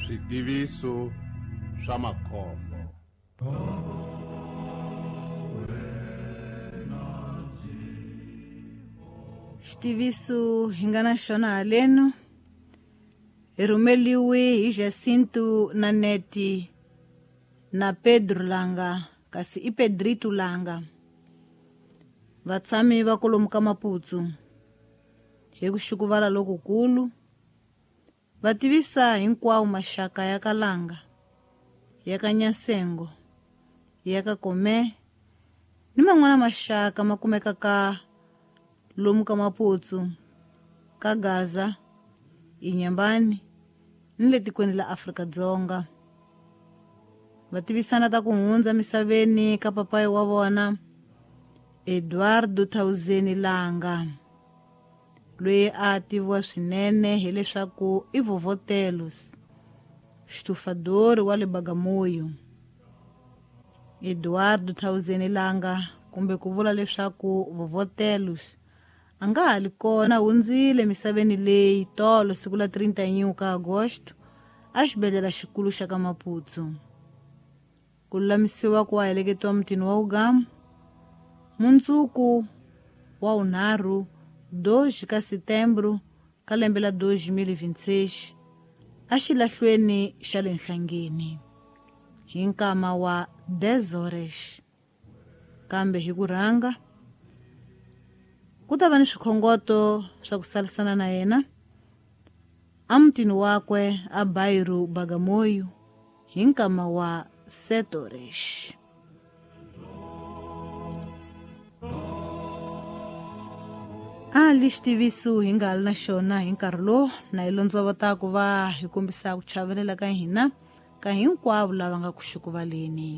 Switiviso swa makhombo. Xitiviso hi nga na xona haleno hi rhumeliwe hi Jacinto na Neti na Pedro Langa, kasi i Pedrito Langa, vatshami va kolomu ka Maputsu. Hi ku xukuvala lokukulu va tivisa hinkwawo maxaka ya ka Langa, ya ka Nyasengo, ya ka Kome ni man'wana maxaka ma kumekaka lomu ka Maputsu, ka Gaza, Inyambani ni le tikweni la Afrika-Dzonga. Va tivisana ta ku hundza misaveni ka papayi wa vona Eduardo Tauzeni Langa, loyi a tiviwa swinene hileswaku i Vovotelos, xitufadori wa le Bagamoyo. Eduardo Tauzeni Langa, kumbe ku vula leswaku Vovotelos, a nga ha li kona, hundzile misaveni leyi tolo siku la 31 ka Agosto a xibedhlele xikulu xa ka Maputsu. Ku lulamisiwa ku heleketiwa mutini wa Ugamu mundzuku wa 3 2 ka Setembro ka lembe la 2026 a xilahlweni xa le Nhlangeni hi nkama wa 10 horas. Kambe hi ku rhanga ku ta va ni swikhongoto swa ku salisana na yena emutini wakwe a Bairro Bagamoyo hi nkama wa 7 horas. A li xitiviso hi nga li na xona hi nkarhi lowu na hi londzovota ku va hi kombisa ku chavelela ka hina ka hinkwavo lava nga ku xukuvaleni.